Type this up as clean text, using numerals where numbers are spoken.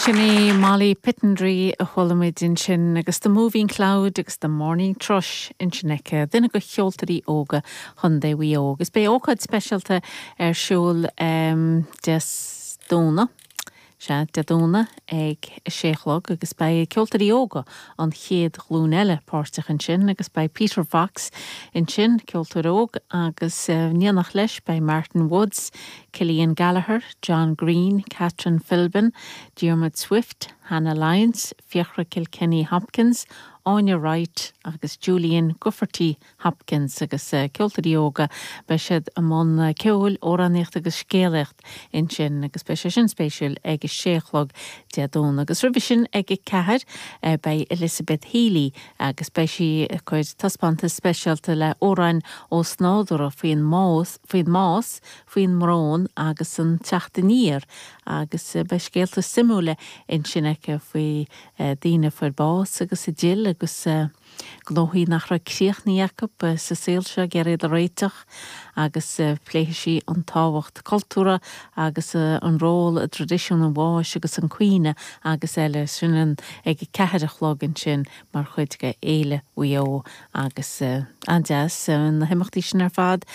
Sin í Molly Pittendrigh a chuala muid ansin agus The Moving Cloud agus The Morning Thrush ansin aici, duine de cheoltóirí óga Chontae Mhaigh Eo. Agus beidh ócáid speisialta ar siúl Dé Domhnaigh, sea, Dé Domhnaigh ag a sé a chlog agus beidh ceoltóirí óga an chéad ghlúin eile páirteach ansin agus beidh Peter Fox ansin, ceoltóir óg, agus in éineacht leis beidh Martin Woods, Cillian Gallagher, John Greene, Catherine Philbin, Diarmuid Swift, Hannah Lyons, Fiachra Kilkenny Hopkins, Áine Wright agus Julian Grufferty Hopkins agus ceoltóirí óga. Beidh siad i mbun ceoil, amhránaíocht agus scéalaíocht ansin agus beidh sé sin spéisiúil ag a sé a chlog Dé Domhnaigh. Agus roimhe sin ag a ceathair beidh Elizabeth Healy agus beidh sí ag cur taispeántas speisialta le amhráin ósnádúrtha faoin mbás, faoin mbás, faoin mbrón agus an teacht aniar agus beidh scéalta suimiúla ansin aici faoi daoine a fuair bás agus a d'fhill agus gnóthaí nach raibh críochnaithe acu sa saol seo ag iarraidh iad a réiteach agus pléifidh sí an tábhacht cultúrtha agus an ról i dtraidisiún an bháis agus an caoineadh agus eile. Sin ag a ceathair a chlog ansin mar chuid de Fhéile Mhaigh Eo agus an-deas na himeachtaí sin ar fad.